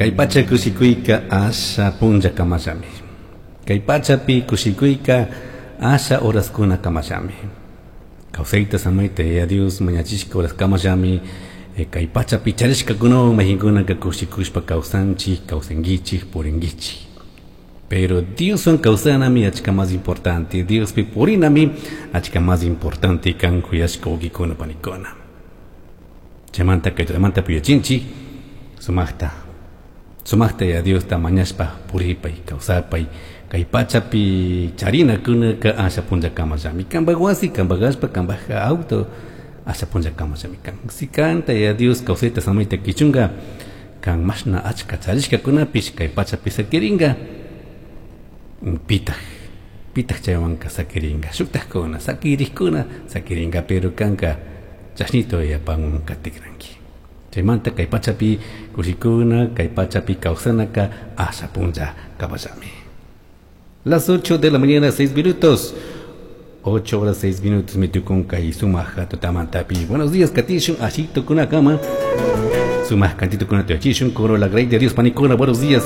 Kay pacha kushikuyka asha punlla kamallami. Kay pachapi kushikuyka asha horaskuna kamallami. Kawsayta samayta Yaya Dios mañachishka horas kamallami kay pachapi charishkakunawan mayqinkunaka kushikushpa kawsanchik, kawsankichik, purinkichik. Pero Dioswan kawsanami achka más importante, Diospi purinami achka más importante kan kuyashka wawqikuna panikuna. Chaymanta kay tutamanta puyachinchik sumaqta, sumaqta Yaya Diosta mañashpa puripay, kawsapay, kay pachapi charinakunaka asha punllakamallami. Kanpak wasi, kanpak allpa, kanpak auto asha punllakamallami kan. Si kanta Yaya Dios kawsayta samayta kichunka, kan mashna achka charishkakunapish kay pachapi sakirinka, pitaq, pitaq chaywanka sakirinka, shuktakuna, sakirikkuna sakirinka, pero kanka chashnito yapan katikranki. Chaymanta kay pachapi kushikuna, kay pachapi kawsanaka asha punlla kamallami. Las 8 de la mañana, 6 minutos. 8 horas 6 minutos me tukun kay sumaq tutamantapi. Buenos días, Katishun, ashito kunakama. Sumaq cantito kuna tuyachishun, coro la grey de Dios panikuna. Buenos días.